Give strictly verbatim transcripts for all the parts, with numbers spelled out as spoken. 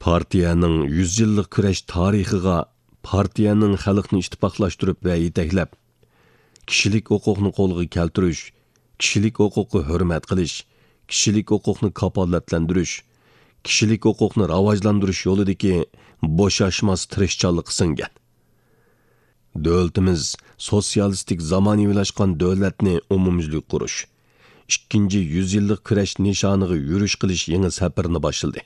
پارتىيەنىڭ يۈز يىللىق كۈرەش تارىخىغا پارتىيەنىڭ خەلقنى ئىتتىپاقلاشتۇرۇپ ۋە يېتەكلەپ، كىشىلىك ھوقۇقنى قولغا كەلتۈرۈش، كىشىلىك ھوقۇققا ھۆرمەت قىلىش، كىشىلىك ھوقۇقنى كاپالەتلەندۈرۈش، كىشىلىك ھوقۇقنى راۋاجلاندۇرۇش يولىدىكى بوشاشماس تىرىشچانلىقى سىڭگەن. دۆلىتىمىز سوتسىيالىستىك زامانىۋىلاشقان دۆلەتنى ئومۇميۈزلۈك قۇرۇش، ئىككىنچى يۈز يىللىق كۈرەش نىشانىغا يۈرۈش قىلىش يېڭى سەپىرىنى باشلىدى.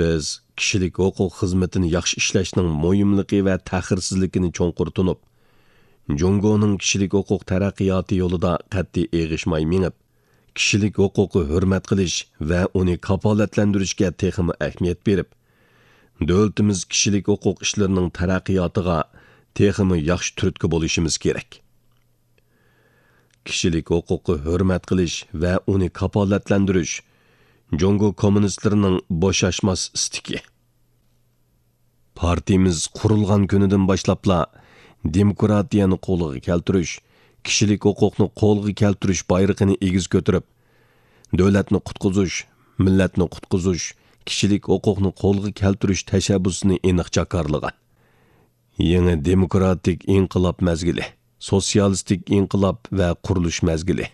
بىز كىشىلىك ھوقۇق خىزمىتىنى ياخشى ئىشلەشنىڭ مۇھىملىقى ۋە تەخىرسىزلىكىنى چوڭقۇر تونۇپ، جۇڭگونىڭ كىشىلىك ھوقۇق تەرەققىياتى يولىدا قەتئىي ئېغىشماي مېڭىپ، كىشىلىك ھوقۇققا ھۆرمەت قىلىش ۋە ئۇنى كاپالەتلەندۈرۈشكە تېخىمۇ ئەھمىيەت بېرىپ، دۆلىتىمىز كىشىلىك ھوقۇق ئىشلىرىنىڭ تەرەققىياتىغا تېخىمۇ ياخشى تۈرتكە بولۇشىمىز كېرەك. كىشىلىك ھوقۇققا ھۆرمەت قىلىش ۋە ئۇنى كاپالەتلەندۈرۈش جۇڭگو كوممۇنىستلىرىنىڭ بوشاشماس ئىستىكى. پارتىيىمىز قۇرۇلغان كۈنىدىن باشلاپلا دېموكراتىيەنى قولغا كەلتۈرۈش، كىشىلىك ھوقۇقنى قولغا كەلتۈرۈش بايرىقىنى ئېگىز كۆتۈرۈپ، دۆلەتنى قۇتقۇزۇش، مىللەتنى قۇتقۇزۇش، كىشىلىك ھوقۇقنى قولغا كەلتۈرۈش تەشەببۇسىنى ئېنىق جاكارلىغان. يېڭى دېموكراتىك ئىنقىلاب مەزگىلى، سوتسىيالىستىك ئىنقىلاب ۋە قۇرۇلۇش مەزگىلى،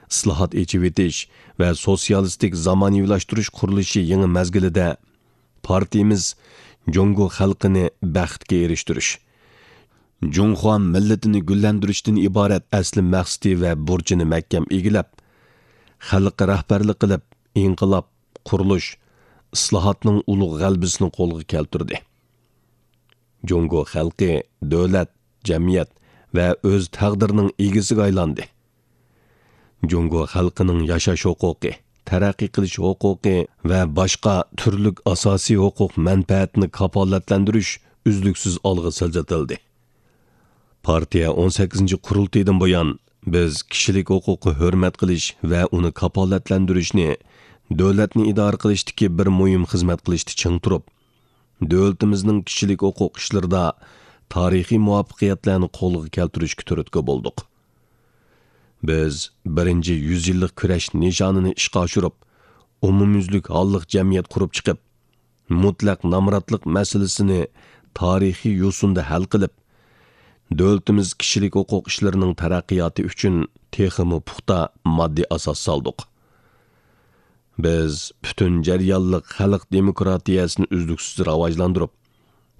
ئىسلاھات، ئېچىۋېتىش ۋە سوتسىيالىستىك زامانىۋىلاشتۇرۇش قۇرۇلۇشى يېڭى مەزگىلىدە پارتىيىمىز جۇڭگو خەلقىنى بەختكە ئېرىشتۈرۈش، جۇڭخۇا مىللىتىنى گۈللەندۈرۈشتىن ئىبارەت ئەسلى مەقسىتى ۋە بۇرچىنى مەھكەم ئىگىلەپ، خەلققە رەھبەرلىك قىلىپ، ئىنقىلاب، قۇرۇلۇش، ئىسلاھاتنىڭ ئۇلۇغ غەلىبىسىنى قولغا كەلتۈردى. جۇڭگو خەلقى دۆلەت، جەمئىيەت ۋە ئۆز تەقدىرىنىڭ ئىگىسىگە ئايلاندى. جۇڭگو خەلقىنىڭ ياشاش ھوقۇقى، تەرەققىي قىلىش ھوقۇقى ۋە باشقا تۈرلۈك ئاساسىي ھوقۇق مەنپەئەتىنى كاپالەتلەندۈرۈش ئۈزلۈكسىز ئالغا سىلجىتىلدى. پارتىيە ئون سەككىزىنچى قۇرۇلتىيىدىن بۇيان، بىز كىشىلىك ھوقۇققا ھۆرمەت قىلىش ۋە ئۇنى كاپالەتلەندۈرۈشنى دۆلەتنى ئىدارە قىلىشتىكى بىر مۇھىم خىزمەت قىلىشتا چىڭ تۇرۇپ، دۆلىتىمىزنىڭ كىشىلىك ھوقۇق ئىشلىرىدا تارىخىي مۇۋەپپەقىيەتلەرنى قولغا كەلتۈرۈشكە تۈرتكە بولدۇق. بىز بىرىنچى يۈز يىللىق كۈرەش نىشانىنى ئىشقا ئاشۇرۇپ، ئومۇميۈزلۈك ھاللىق جەمئىيەت قۇرۇپ چىقىپ، مۇتلەق نامراتلىق مەسىلىسىنى تارىخىي يوسۇندا ھەل قىلىپ، دۆلىتىمىز كىشىلىك ھوقۇق ئىشلىرىنىڭ تەرەققىياتى ئۈچۈن تېخىمۇ پۇختا ماددىي ئاساس سالدۇق. بىز پۈتۈن جەريانلىق خەلق دېموكراتىيەسىنى ئۈزلۈكسىز راۋاجلاندۇرۇپ،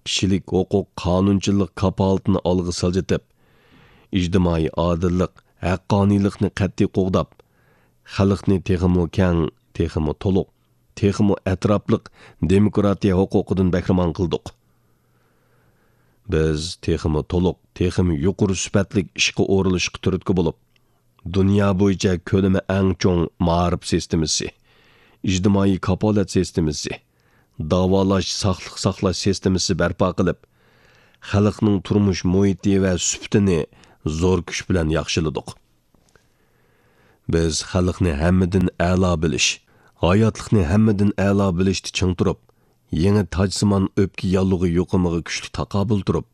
كىشىلىك ھوقۇق قانۇنچىلىق كاپالىتىنى ئالغا سىلجىتىپ، ئىجتىمائىي ئادىللىق، ھەققانىيلىقنى قەتئىي قوغداپ، خەلقنى تېخىمۇ كەڭ، تېخىمۇ تولۇق، تېخىمۇ ئەتراپلىق دېموكراتىيە ھوقۇقىدىن بەھرىمەن قىلدۇق. بىز تېخىمۇ تولۇق، تېخىمۇ يۇقىرى سۈپەتلىك ئىشقا ئورۇنلىشىشقا تۈرتكە بولۇپ، دۇنيا بويىچە كۆلىمى ئەڭ چوڭ مائارىپ سىستېمىسى، ئىجتىمائىي كاپالەت سىستېمىسى، داۋالاش، ساقلىق ساقلاش سىستېمىسى بەرپا قىلىپ، خەلقنىڭ تۇرمۇش مۇھىتى ۋە سۈپىتىنى زور كۈچ بىلەن ياخشىلىدۇق. بىز خەلقنى ھەممىدىن ئەلا بىلىش، ھاياتلىقنى ھەممىدىن ئەلا بىلىشتە چىڭ تۇرۇپ، يېڭى تاجسىمان ئۆپكە ياللۇغى يۇقۇمىغا كۈچلۈك تاقابىل تۇرۇپ،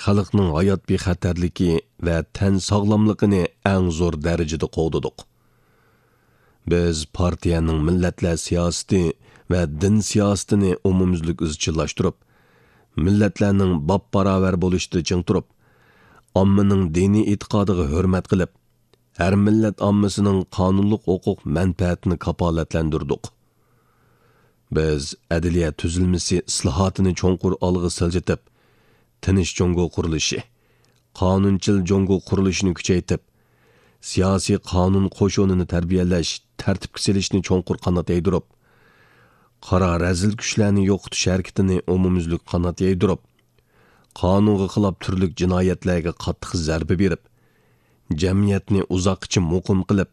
خەلقنىڭ ھايات بىخەتەرلىكى ۋە تەن ساغلاملىقىنى ئەڭ زور دەرىجىدە قوغدىدۇق. بىز پارتىيەنىڭ مىللەتلەر سىياسىتى ۋە دىن سىياسىتىنى ئومۇميۈزلۈك ئىزچىللاشتۇرۇپ، مىللەتلەرنىڭ باپباراۋەر بولۇشىدا چىڭ تۇرۇپ، ئاممىنىڭ دىنىي ئېتىقادىغا ھۆرمەت قىلىپ، ھەر مىللەت ئاممىسىنىڭ قانۇنلۇق ھوقۇق مەنپەئەتىنى كاپالەتلەندۈردۇق. بىز ئەدلىيە تۈزۈلمىسى ئىسلاھاتىنى چوڭقۇر ئالغا سىلجىتىپ، تىنچ جۇڭگو قۇرۇلۇشى، قانۇنچىل جۇڭگو قۇرۇلۇشىنى كۈچەيتىپ، سىياسىي قانۇن قوشۇنىنى تەربىيەلەش، تەرتىپكە سېلىشنى چوڭقۇر قانات يايدۇرۇپ، قارا رەزىل كۈچلەرنى يوقىتىش ھەرىكىتىنى ئومۇميۈزلۈك قانات يايدۇرۇپ، قانۇنغا خىلاپ تۈرلۈك جىنايەتلەرگە قاتتىق زەربە بېرىپ، جەمئىيەتنى ئۇزاققىچە مۇقىم قىلىپ،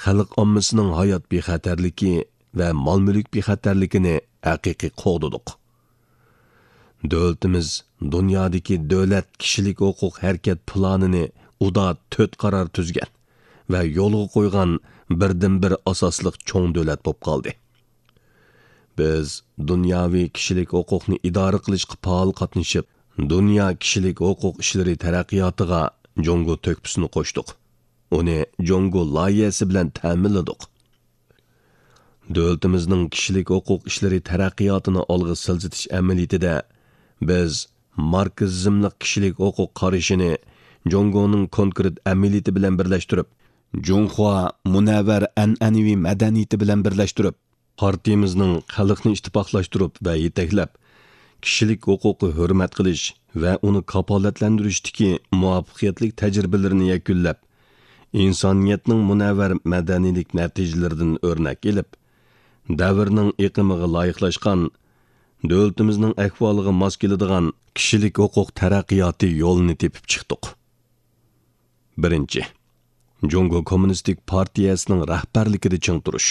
خەلق ئاممىسىنىڭ ھايات بىخەتەرلىكى ۋە مال-مۈلۈك بىخەتەرلىكىنى ھەقىقىي قوغدىدۇق. دۆلىتىمىز دۇنيادىكى دۆلەت كىشىلىك ھوقۇق ھەرىكەت پىلانىنى ئۇدا تۆت قارار تۈزگەن ۋە يولغا قويغان بىردىنبىر ئاساسلىق چوڭ دۆلەت بولۇپ قالدى. بىز دۇنياۋى كىشىلىك ھوقۇقنى ئىدارە قىلىشقا پائال قاتنىشىپ، دۇنيا كىشىلىك ھوقۇق ئىشلىرى تەرەققىياتىغا جۇڭگو تۆھپىسىنى قوشتۇق. ئۇنى جۇڭگو لايىھەسى بىلەن تەمىنلىدۇق. دۆلىتىمىزنىڭ كىشىلىك ھوقۇق ئىشلىرى تەرەققىياتىنى ئالغا سىلجىتىش ئەمەلىيىتىدە بىز ماركسىزملىق كىشىلىك ھوقۇق قارىشىنى جۇڭگونىڭ كونكرېت ئەمەلىيىتى بىلەن بىرلەشتۈرۈپ، جۇڭخۇا مۇنەۋۋەر ئەنئەنىۋى مەدەنىيىتى بىلەن بىرلەشتۈرۈپ، پارتىيىمىزنىڭ خەلقنى ئىتتىپاقلاشتۇرۇپ ۋە يېتەكلەپ، كىشىلىك ھوقۇققا ھۆرمەت قىلىش ۋە ئۇنى كاپالەتلەندۈرۈشتىكى مۇۋەپپەقىيەتلىك تەجرىبىلىرىنى يەكۈنلەپ، ئىنسانىيەتنىڭ مۇنەۋۋەر مەدەنىيلىك نەتىجىلىرىدىن ئۆرنەك ئېلىپ، دەۋرنىڭ ئېقىمىغا لايىقلاشقان، دۆلىتىمىزنىڭ ئەھۋالىغا ماس كېلىدىغان كىشىلىك ھوقۇق تەرەققىياتى يولىنى تېپىپ چىقتۇق. بىرىنچى، جۇڭگو كوممۇنىستىك پارتىيەسىنىڭ رەھبەرلىكىدە چىڭ تۇرۇش.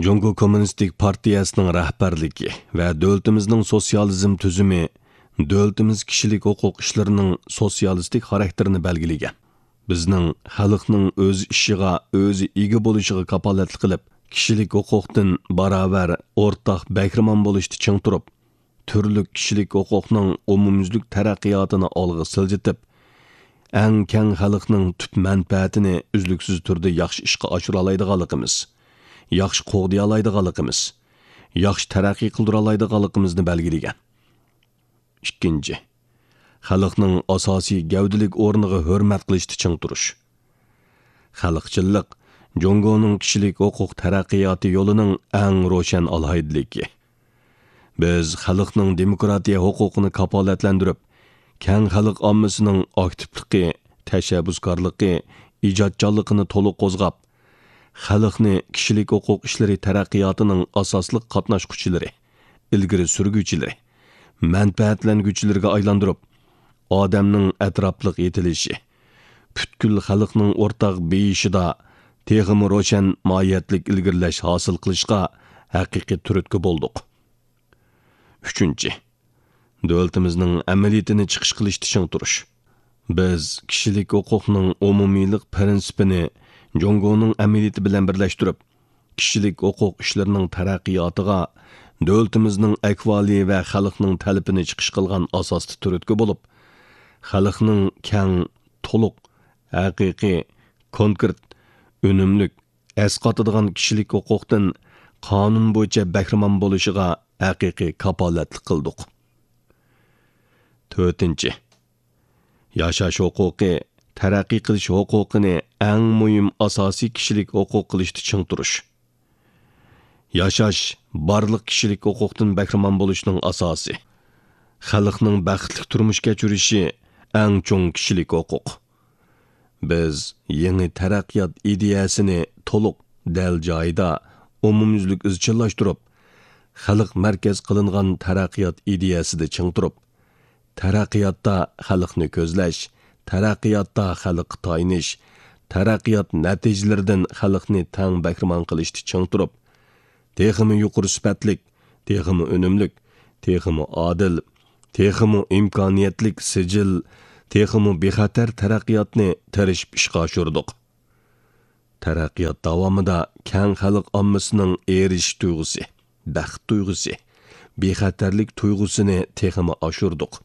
جۇڭگو كوممۇنىستىك پارتىيەسىنىڭ رەھبەرلىكى ۋە دۆلىتىمىزنىڭ سوتسىيالىزم تۈزۈمى دۆلىتىمىز كىشىلىك ھوقۇق ئىشلىرىنىڭ سوتسىيالىستىك خاراكتېرىنى بەلگىلىگەن. بىزنىڭ خەلقنىڭ ئۆز ئىشىغا، ئۆزى ئىگە بولۇشىغا كاپالەتلىك قىلىپ، كىشىلىك ھوقۇقتىن باراۋەر، ئورتاق بەھرىمەن بولۇشتا چىڭ تۇرۇپ، تۈرلۈك كىشىلىك ھوقۇقنىڭ ئومۇميۈزلۈك تەرەققىياتىنى ئالغا سىلجىتىپ، ئەڭ كەڭ خەلقنىڭ تۈپ مەنپەئەتىنى ئۈزلۈكسىز تۈردە ياخشى ئىشقا ئاشۇرالايدىغانلىقىمىز، ياخشى قوغدىيالايدىغانلىقىمىز، ياخشى تەرەققىي قىلدۇرالايدىغانلىقىمىزنى بەلگىلىگەن. ئىككىنچى، خەلقنىڭ ئاساسىي گەۋدىلىك ئورنىغا ھۆرمەت قىلىشتا چىڭ تۇرۇش. خەلقچىللىق جۇڭگونىڭ كىشىلىك ھوقۇق تەرەققىياتى يولىنىڭ ئەڭ روشەن ئالاھىدىلىكى. بىز خەلقنىڭ دېموكراتىيە ھوقۇقىنى كاپالەتلەندۈرۈپ، كەڭ خەلق ئاممىسىنىڭ ئاكتىپلىقى، تەشەببۇسكارلىقى، ئىجادچانلىقىنى تولۇق قوزغاپ، خەلقنى كىشىلىك ھوقۇق ئىشلىرى تەرەققىياتىنىڭ ئاساسلىق قاتناشقۇچىلىرى، ئىلگىرى سۈرگۈچىلىرى، مەنپەئەتلەنگۈچىلىرىگە ئايلاندۇرۇپ، ئادەمنىڭ ئەتراپلىق يېتىلىشى، پۈتكۈل خەلقنىڭ ئورتاق بېيىشىدا تېخىمۇ روشەن ماھىيەتلىك ئىلگىرىلەش ھاسىل قىلىشقا ھەقىقىي تۈرتكە بولدۇق. ئۈچىنچى، دۆلىتىمىزنىڭ ئەمەلىيىتىنى چىقىش قىلىشتا چىڭ تۇرۇش. بىز كىشىلىك ھوقۇقنىڭ ئومۇمىيلىق پىرىنسىپىنى جۇڭگونىڭ ئەمەلىيىتى بىلەن بىرلەشتۈرۈپ، كىشىلىك ھوقۇق ئىشلىرىنىڭ تەرەققىياتىغا دۆلىتىمىزنىڭ ئەھۋالى ۋە خەلقنىڭ تەلىپىنى چىقىش قىلغان ئاساستا تۈرتكە بولۇپ، خەلقنىڭ كەڭ، تولۇق، ھەقىقىي، كونكرېت، ئۈنۈملۈك، ئەسقاتىدىغان كىشىلىك ھوقۇقتىن قانۇن بويىچە بەھرىمەن بولۇشىغا ھەقىقىي كاپالەتلىك قىلدۇق. تۆتىنچى، ياشاش ھوقۇقى، تەرەققىي قىلىش ھوقۇقىنى ئەڭ مۇھىم ئاساسىي كىشىلىك ھوقۇق قىلىشتا چىڭ تۇرۇش. ياشاش بارلىق كىشىلىك ھوقۇقتىن بەھرىمەن بولۇشنىڭ ئاساسى. خەلقنىڭ بەختلىك تۇرمۇش كەچۈرۈشى ئەڭ چوڭ كىشىلىك ھوقۇق. بىز يېڭى تەرەققىيات ئىدىيەسىنى تولۇق، دەل جايىدا، ئومۇميۈزلۈك ئىزچىللاشتۇرۇپ، خەلق مەركەز قىلىنغان تەرەققىيات ئىدىيەسىدە چىڭ تۇرۇپ، تەرەققىياتتا خەلقنى كۆزلەش، تەرەققىياتتا خەلققە تايىنىش، تەرەققىيات نەتىجىلىرىدىن خەلقنى تەڭ بەھرىمەن قىلىشتا چىڭ تۇرۇپ، تېخىمۇ يۇقىرى سۈپەتلىك، تېخىمۇ ئۈنۈملۈك، تېخىمۇ ئادىل، تېخىمۇ ئىمكانىيەتلىك سىجىل، تېخىمۇ بىخەتەر تەرەققىياتنى تىرىشىپ ئىشقا ئاشۇردۇق. تەرەققىيات داۋامىدا كەڭ خەلق ئاممىسىنىڭ ئېرىشىش تۇيغۇسى، بەخت تۇيغۇسى، بىخەتەرلىك تۇيغۇسىنى تېخىمۇ ئاشۇردۇق،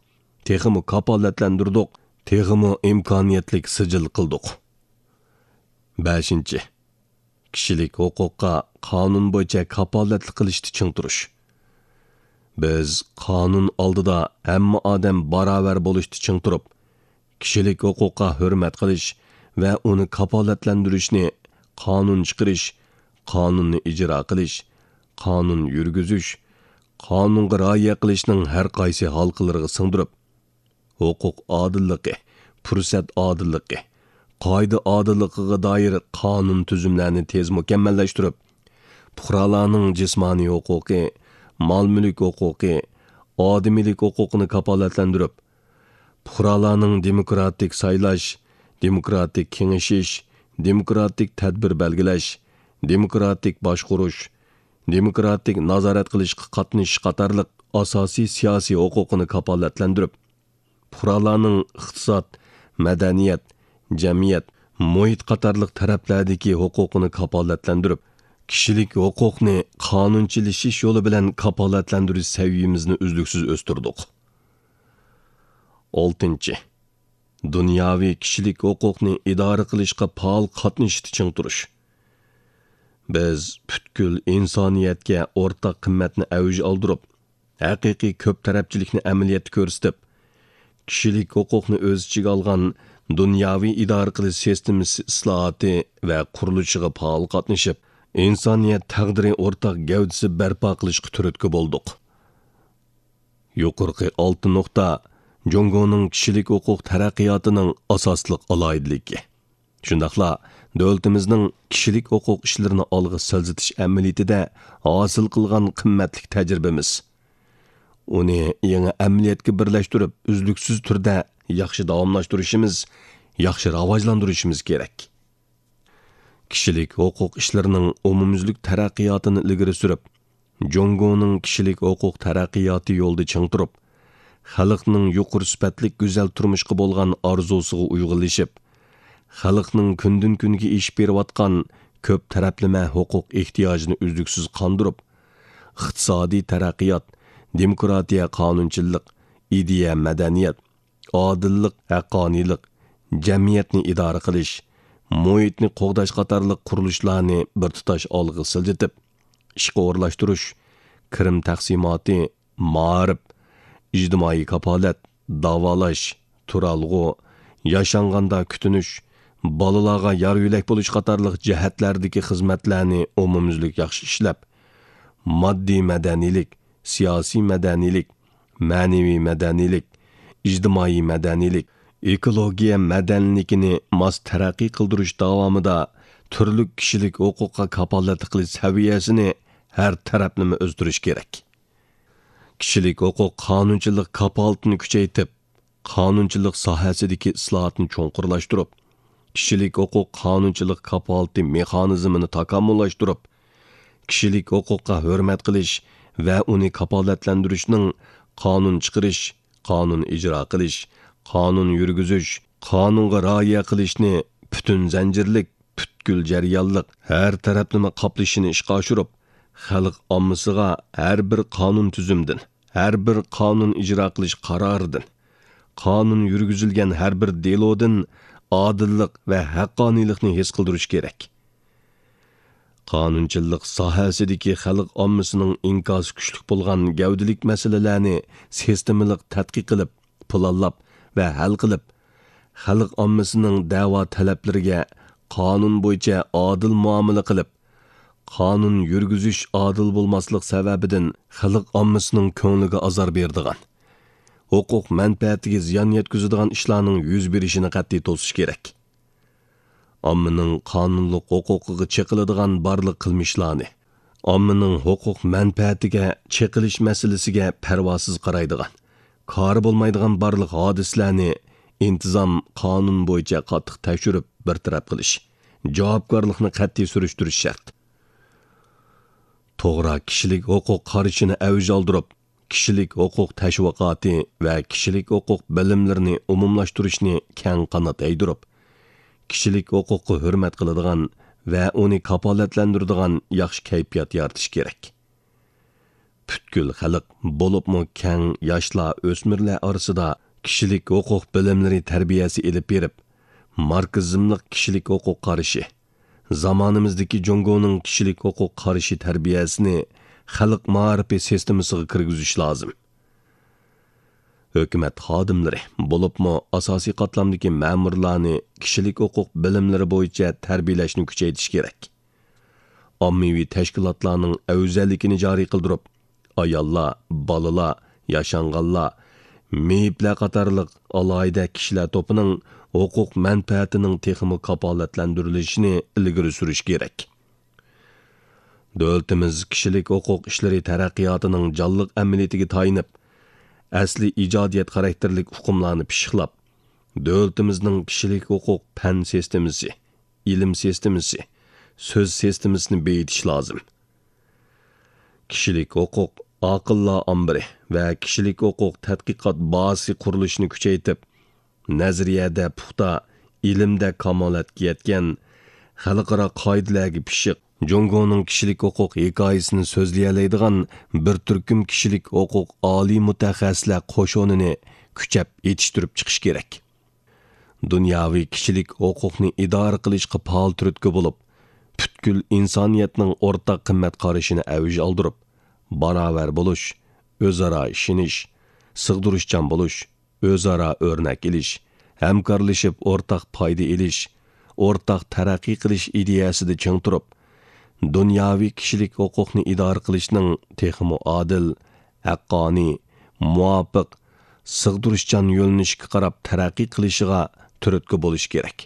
تېخىمۇ كاپالەتلەندۈردۇق، تېخىمۇ ئىمكانىيەتلىك سىجىل قىلدۇق. بەشىنچى، كىشىلىك ھوقۇققا قانۇن بويىچە كاپالەتلىك قىلىشتا چىڭ تۇرۇش. بىز قانۇن ئالدىدا ھەممە ئادەم باراۋەر بولۇشتا چىڭ تۇرۇپ، كىشىلىك ھوقۇققا ھۆرمەت قىلىش ۋە ئۇنى كاپالەتلەندۈرۈشنى قانۇن چىقىرىش، قانۇننى ئىجرا قىلىش، قانۇن يۈرگۈزۈش، قانۇنغا رىئايە قىلىشنىڭ ھەر قايسى ھالقىلىرىغا سىڭدۈرۈپ، ھوقۇق ئادىللىقى، پۇرسەت ئادىللىقى، قائىدە ئادىللىقىغا دائىر قانۇن تۈزۈملەرنى تېز مۇكەممەللەشتۈرۈپ، پۇقرالارنىڭ جىسمانىي ھوقۇقى، مال-مۈلۈك ھوقۇقى، ئادىمىيلىك ھوقۇقىنى كاپالەتلەندۈرۈپ، پۇقرالارنىڭ دېموكراتىك سايلاش، دېموكراتىك كېڭىشىش، دېموكراتىك تەدبىر بەلگىلەش، دېموكراتىك باشقۇرۇش، دېموكراتىك نازارەت قىلىشقا قاتنىشىش قاتارلىق ئاساسىي سىياسىي ھوقۇقىنى كاپالەتلەندۈرۈپ، پۇقرالارنىڭ ئىقتىساد، مەدەنىيەت، جەمئىيەت، مۇھىت قاتارلىق تەرەپلەردىكى ھوقۇقىنى كاپالەتلەندۈرۈپ، كىشىلىك ھوقۇقنى قانۇنچىلىشىش يولى بىلەن كاپالەتلەندۈرۈش سەۋىيىمىزنى ئۈزلۈكسىز ئۆستۈردۇق. ئالتىنچى، دۇنياۋى كىشىلىك ھوقۇقنى ئىدارە قىلىشقا پائال قاتنىشىشتا چىڭ تۇرۇش. بىز پۈتكۈل ئىنسانىيەتكە ئورتاق قىممەتنى ئەۋج ئالدۇرۇپ، ھەقىقىي كۆپ تەرەپچىلىكنى ئەمەلىيەتتە كۆرسىتىپ، كىشىلىك ھوقۇقنى ئۆز ئىچىگە ئالغان دۇنياۋى ئىدارە قىلىش سىستېمىسى ئىسلاھاتى ۋە قۇرۇلۇشىغا پائال قاتنىشىپ، ئىنسانىيەت تەقدىرى ئورتاق گەۋدىسى بەرپا قىلىشقا تۈرتكە بولدۇق. يۇقىرىقى ئالتە نۇقتا جۇڭگونىڭ كىشىلىك ھوقۇق تەرەققىياتىنىڭ ئاساسلىق ئالاھىدىلىكى. شۇنداقلا دۆلىتىمىزنىڭ كىشىلىك ھوقۇق ئىشلىرىنى ئالغا سىلجىتىش ئەمەلىيىتىدە ھاسىل قىلغان قىممەتلىك تەجرىبىمىز. ئۇنى يېڭى ئەمەلىيەتكە بىرلەشتۈرۈپ، ئۈزلۈكسىز تۈردە ياخشى داۋاملاشتۇرۇشىمىز، ياخشى راۋاجلاندۇرۇشىمىز كېرەك. كىشىلىك ھوقۇق ئىشلىرىنىڭ ئومۇميۈزلۈك تەرەققىياتىنى ئىلگىرى سۈرۈپ، جۇڭگونىڭ كىشىلىك ھوقۇق تەرەققىياتى يولىدا چىڭ تۇرۇپ، خەلقنىڭ يۇقىرى سۈپەتلىك گۈزەل تۇرمۇشقا بولغان ئارزۇسىغا ئۇيغۇنلىشىپ، خەلقنىڭ كۈندىن-كۈنگە ئېشىپ بېرىۋاتقان كۆپ تەرەپلىمە ھوقۇق ئېھتىياجىنى ئۈزلۈكسىز قاندۇرۇپ، ئىقتىسادىي تەرەققىيات، دېموكراتىيە، قانۇنچىلىق، ئىدىيە، مەدەنىيەت، ئادىللىق، ھەققانىيلىق، جەمئىيەتنى ئىدارە قىلىش، مۇھىتنى قوغداش قاتارلىق قۇرۇلۇشلارنى بىر تۇتاش ئالغا سىلجىتىپ، ئىشقا ئورۇنلاشتۇرۇش، كىرىم تەقسىماتى، مائارىپ، ئىجتىمائىي كاپالەت، داۋالاش، تۇرالغۇ، ياشانغاندا كۈتۈنۈش، بالىلارغا يار-يۆلەك بولۇش قاتارلىق جەھەتلەردىكى خىزمەتلەرنى ئومۇميۈزلۈك ياخشى ئىشلەپ، ماددىي مەدەنىيلىك، سىياسىي مەدەنىيلىك، مەنىۋى مەدەنىيلىك، ئىجتىمائىي مەدەنىيلىك، ئېكولوگىيە مەدەنىيلىكىنى ماس تەرەققىي قىلدۇرۇش داۋامىدا تۈرلۈك كىشىلىك ھوقۇققا كاپالەتلىك قىلىش سەۋىيەسىنى ھەر تەرەپلىمە ئۆستۈرۈش كېرەك. كىشىلىك ھوقۇق قانۇنچىلىق كاپالىتىنى كۈچەيتىپ، قانۇنچىلىق ساھەسىدىكى ئىسلاھاتنى چوڭقۇرلاشتۇرۇپ، كىشىلىك ھوقۇق قانۇنچىلىق كاپالىتى مېخانىزمىنى تاكامۇللاشتۇرۇپ، كىشىلىك ھوقۇققا ھۆرمەت قىلىش ۋە ئۇنى كاپالەتلەندۈرۈشنىڭ قانۇن چىقىرىش، قانۇن ئىجرا قىلىش، قانۇن يۈرگۈزۈش، قانۇنغا رىئايە قىلىشنى پۈتۈن زەنجىرلىك، پۈتكۈل جەريانلىق، ھەر تەرەپلىمە قاپلىشىنى ئىشقا ئاشۇرۇپ، خەلق ئاممىسىغا ھەر بىر قانۇن تۈزۈمدىن، ھەر بىر قانۇن ئىجرا قىلىش قارارىدىن، قانۇن يۈرگۈزۈلگەن ھەر بىر دېلودىن ئادىللىق ۋە ھەققانىيلىقنى ھېس قىلدۇرۇش كېرەك. قانۇنچىلىق ساھەسىدىكى خەلق ئاممىسىنىڭ ئىنكاسى كۈچلۈك بولغان گەۋدىلىك مەسىلىلەرنى سىستېمىلىق تەتقىق قىلىپ، پىلانلاپ ۋە ھەل قىلىپ، خەلق ئاممىسىنىڭ دەۋا تەلەپلىرىگە قانۇن بويىچە ئادىل مۇئامىلە قىلىپ، قانۇن يۈرگۈزۈش ئادىل بولماسلىق سەۋەبىدىن خەلق ئاممىسىنىڭ كۆڭلىگە ئازار بېرىدىغان، ھوقۇق مەنپەئەتىگە زىيان يەتكۈزىدىغان ئىشلارنىڭ يۈز بېرىشىنى قەتئىي توسۇش كېرەك. ئاممىنىڭ قانۇنلۇق ھوقۇقىغا چېقىلىدىغان بارلىق قىلمىشلارنى، ئاممىنىڭ ھوقۇق مەنپەئەتىگە چېقىلىش مەسىلىسىگە پەرۋاسىز قارايدىغان، كارى بولمايدىغان بارلىق ھادىسىلەرنى ئىنتىزام قانۇن بويىچە قاتتىق تەكشۈرۈپ بىر تەرەپ قىلىش، جاۋابكارلىقنى قەتئىي سۈرۈشتۈرۈش شەرت. توغرا كىشىلىك ھوقۇق قارىشىنى ئەۋج ئالدۇرۇپ، كىشىلىك ھوقۇق تەشۋىقاتى ۋە كىشىلىك ھوقۇق بىلىملىرىنى ئومۇملاشتۇرۇشنى كەڭ قانات يايدۇرۇپ، كىشىلىك ھوقۇققا ھۆرمەت قىلىدىغان ۋە ئۇنى كاپالەتلەندۈرىدىغان ياخشى كەيپىيات يارىتىش كېرەك. پۈتكۈل خەلق، بولۇپمۇ كەڭ ياشلار، ئۆسمۈرلەر ئارىسىدا كىشىلىك ھوقۇق بىلىملىرى تەربىيەسى ئېلىپ بېرىپ، ماركسىزملىق كىشىلىك ھوقۇق قارىشى، زامانىمىزدىكى جۇڭگونىڭ كىشىلىك ھوقۇق قارىشى تەربىيەسىنى خەلق مائارىپى سىستېمىسىغا كىرگۈزۈش لازىم. ھۆكۈمەت خادىملىرى، بولۇپمۇ ئاساسىي قاتلامدىكى مەمۇرلارنى كىشىلىك ھوقۇق بىلىملىرى بويىچە تەربىيەلەشنى كۈچەيتىش كېرەك. ئاممىۋى تەشكىلاتلارنىڭ ئەۋزەللىكىنى جارى قىلدۇرۇپ، ئاياللار، بالىلار، ياشانغانلار، مېيىپلەر قاتارلىق ئالاھىدە كىشىلەر توپىنىڭ ھوقۇق مەنپەئەتىنىڭ تېخىمۇ كاپالەتلەندۈرۈلۈشىنى ئىلگىرى سۈرۈش كېرەك. دۆلىتىمىز كىشىلىك ھوقۇق ئىشلىرى تەرەققىياتىنىڭ جانلىق ئەمەلىيىتىگە تايىنىپ، ئەسلىي ئىجادىيەت خاراكتېرلىك ئۇقۇملارنى پىششىقلاپ، دۆلىتىمىزنىڭ كىشىلىك ھوقۇق پەن سىستېمىسى، ئىلىم سىستېمىسى، سۆز سىستېمىسىنى بېيىتىش لازىم. كىشىلىك ھوقۇق ئاقىللار ئامبىرى ۋە كىشىلىك ھوقۇق تەتقىقات بازىسى قۇرۇلۇشىنى كۈچەيتىپ، نەزەرىيەدە پۇختا، ئىلىمدە كامالەتكە يەتكەن، خەلقئارا قائىدىلەرگە پىششىق، جۇڭگونىڭ كىشىلىك ھوقۇق ھېكايىسىنى سۆزلىيەلەيدىغان بىر تۈركۈم كىشىلىك ھوقۇق ئالىي مۇتەخەسسىسلەر قوشۇنىنى كۈچەپ يېتىشتۈرۈپ چىقىش كېرەك. دۇنياۋى كىشىلىك ھوقۇقنى ئىدارە قىلىشقا پائال تۈرتكە بولۇپ، پۈتكۈل ئىنسانىيەتنىڭ ئورتاق قىممەت قارىشىنى ئەۋج ئالدۇرۇپ، باراۋەر بولۇش، ئۆزئارا ئىشىنىش، سىغدۇرۇشچان بولۇش، ئۆزئارا ئۆرنەك ئېلىش، ھەمكارلىشىپ ئورتاق پايدا ئېلىش، ئورتاق تەرەققىي قىلىش ئىدىيەسىدە چىڭ تۇرۇپ، دۇنياۋى كىشىلىك ھوقۇقنى ئىدارە قىلىشنىڭ تېخىمۇ ئادىل، ھەققانىي، مۇۋاپىق، سىغدۇرۇشچان يۆنىلىشكە قاراپ تەرەققىي قىلىشىغا تۈرتكە بولۇش كېرەك.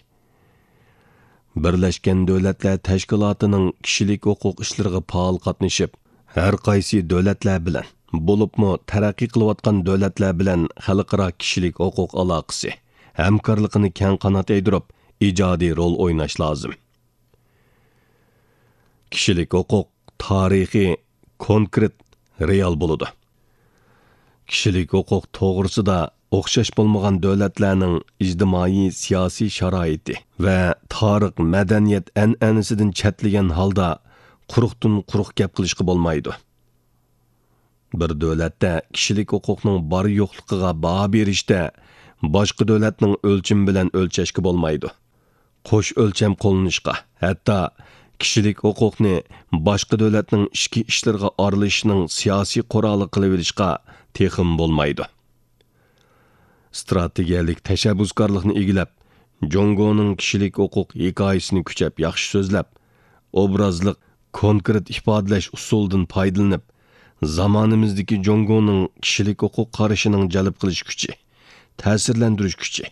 بىرلەشكەن دۆلەتلەر تەشكىلاتىنىڭ كىشىلىك ھوقۇق ئىشلىرىغا پائال قاتنىشىپ، ھەر قايسى دۆلەتلەر بىلەن، بولۇپمۇ تەرەققىي قىلىۋاتقان دۆلەتلەر بىلەن خەلقئارا كىشىلىك ھوقۇق ئالاقىسى، ھەمكارلىقىنى كەڭ قانات يايدۇرۇپ، ئىجادىي رول ئويناش لازىم. كىشىلىك ھوقۇق تارىخىي، كونكرېت، رېئال بولىدۇ. كىشىلىك ھوقۇق توغرىسىدا ئوخشاش بولمىغان دۆلەتلەرنىڭ ئىجتىمائىي سىياسىي شارائىتى ۋە تارىخ مەدەنىيەت ئەنئەنىسىدىن چەتلىگەن ھالدا قۇرۇقتىن قۇرۇق گەپ قىلىشقا بولمايدۇ. بىر دۆلەتتە كىشىلىك ھوقۇقنىڭ بار يوقلۇقىغا باھا بېرىشتە باشقا دۆلەتنىڭ ئۆلچىمى بىلەن ئۆلچەشكە بولمايدۇ. قوش ئۆلچەم قوللىنىشقا، ھەتتا كىشىلىك ھوقۇقنى باشقا دۆلەتنىڭ ئىچكى ئىشلىرىغا ئارىلىشىشنىڭ سىياسىي قورالى قىلىۋېلىشقا تېخىمۇ بولمايدۇ. ئىستراتېگىيەلىك تەشەببۇسكارلىقنى ئىگىلەپ، جۇڭگونىڭ كىشىلىك ھوقۇق ھېكايىسىنى كۈچەپ ياخشى سۆزلەپ، ئوبرازلىق، كونكرېت ئىپادىلەش ئۇسۇلىدىن پايدىلىنىپ، زامانىمىزدىكى جۇڭگونىڭ كىشىلىك ھوقۇق قارىشىنىڭ جەلپ قىلىش كۈچى، تەسىرلەندۈرۈش كۈچى،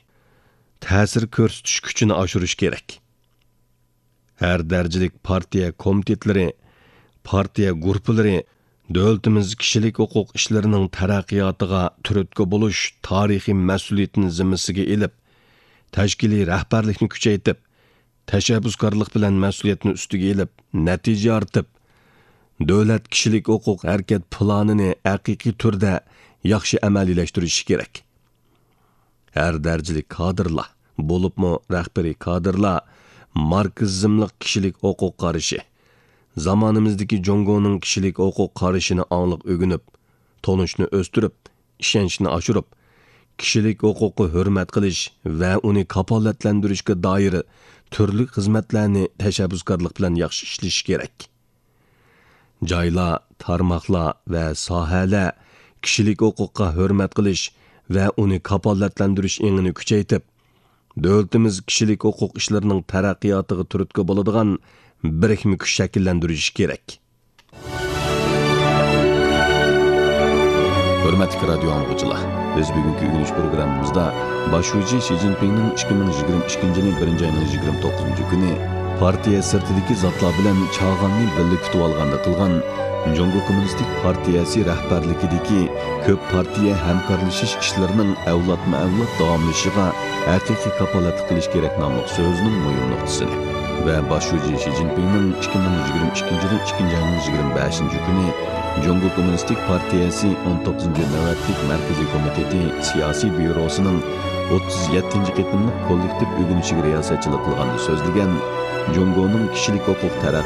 تەسىر كۆرسىتىش كۈچىنى ئاشۇرۇش كېرەك. ھەر دەرىجىلىك پارتىيە كومىتېتلىرى، پارتىيە گۇرۇپپىلىرى دۆلىتىمىز كىشىلىك ھوقۇق ئىشلىرىنىڭ تەرەققىياتىغا تۈرتكە بولۇش تارىخىي مەسئۇلىيىتىنى زىممىسىگە ئېلىپ، تەشكىلىي رەھبەرلىكنى كۈچەيتىپ، تەشەببۇسكارلىق بىلەن مەسئۇلىيەتنى ئۈستىگە ئېلىپ، نەتىجە يارىتىپ، دۆلەت كىشىلىك ھوقۇق ھەرىكەت پىلانىنى ھەقىقىي تۈردە ياخشى ئەمەلىيلەشتۈرۈشى كېرەك. ھەر دەرىجىلىك كادىرلار، بولۇپمۇ رەھبىرىي كادىرلار ماركسىزملىق كىشىلىك ھوقۇق قارىشى، زامانىمىزدىكى جۇڭگونىڭ كىشىلىك ھوقۇق قارىشىنى ئاڭلىق ئۆگىنىپ، تونۇشنى ئۆستۈرۈپ، ئىشەنچنى ئاشۇرۇپ، كىشىلىك ھوقۇققا ھۆرمەت قىلىش ۋە ئۇنى كاپالەتلەندۈرۈشكە دائىر تۈرلۈك خىزمەتلەرنى تەشەببۇسكارلىق بىلەن ياخشى ئىشلىشى كېرەك. جايلار، تارماقلار ۋە ساھەلەر كىشىلىك ھوقۇققا ھۆرمەت قىلىش ۋە ئۇنى كاپالەتلەندۈرۈش ئېڭىنى كۈچەيتىپ، دۆلىتىمىز كىشىلىك ھوقۇق ئىشلىرىنىڭ تەرەققىياتىغا تۈرتكە بولىدىغان بىرىكمە كۈچ شەكىللەندۈرۈشى كېرەك. ھۆرمەتلىك رادىيو ئاڭلىغۇچىلار، بىز بۈگۈنكى ئۆگىنىش پروگراممىمىزدا باش شۇجى شى جىنپىڭنىڭ ئىككى مىڭ يىگىرمە ئىككىنچى يىلى بىرىنچى ئاينىڭ يىگىرمە توققۇزىنچى كۈنى پارتىيە سىرتىدىكى زاتلار بىلەن چاغاننى بىللە كۈتۈۋالغاندا قىلغان جۇڭگو كوممۇنىستىك پارتىيەسى رەھبەرلىكىدىكى كۆپ پارتىيە ھەمكارلىشىش ئىشلىرىنىڭ ئەۋلادمۇ ئەۋلاد داۋاملىشىشىغا ھەقىقىي كاپالەتلىك قىلىش كېرەك ناملىق سۆزىنىڭ مۇھىم نۇقتىسىنى ۋە باش شۇجى شى جىنپىڭنىڭ ئىككى مىڭ يىگىرمە ئىككىنچى يىلى ئىككىنچى ئاينىڭ يىگىرمە بەشىنچى كۈنى جۇڭگو كوممۇنىستىك پارتىيەسى ئون توققۇزىنچى نۆۋەتلىك مەركىزىي كومىتېتى سىياسىي بيۇروسىنىڭ ئوتتۇز يەتتىنچى قېتىملىق كوللېكتىپ ئۆگىنىشىگە رىياسەتچىلىك قىلغاندا سۆزلىگەن جۇڭگونىڭ كىشىلىك ھوقۇق تەرەققىي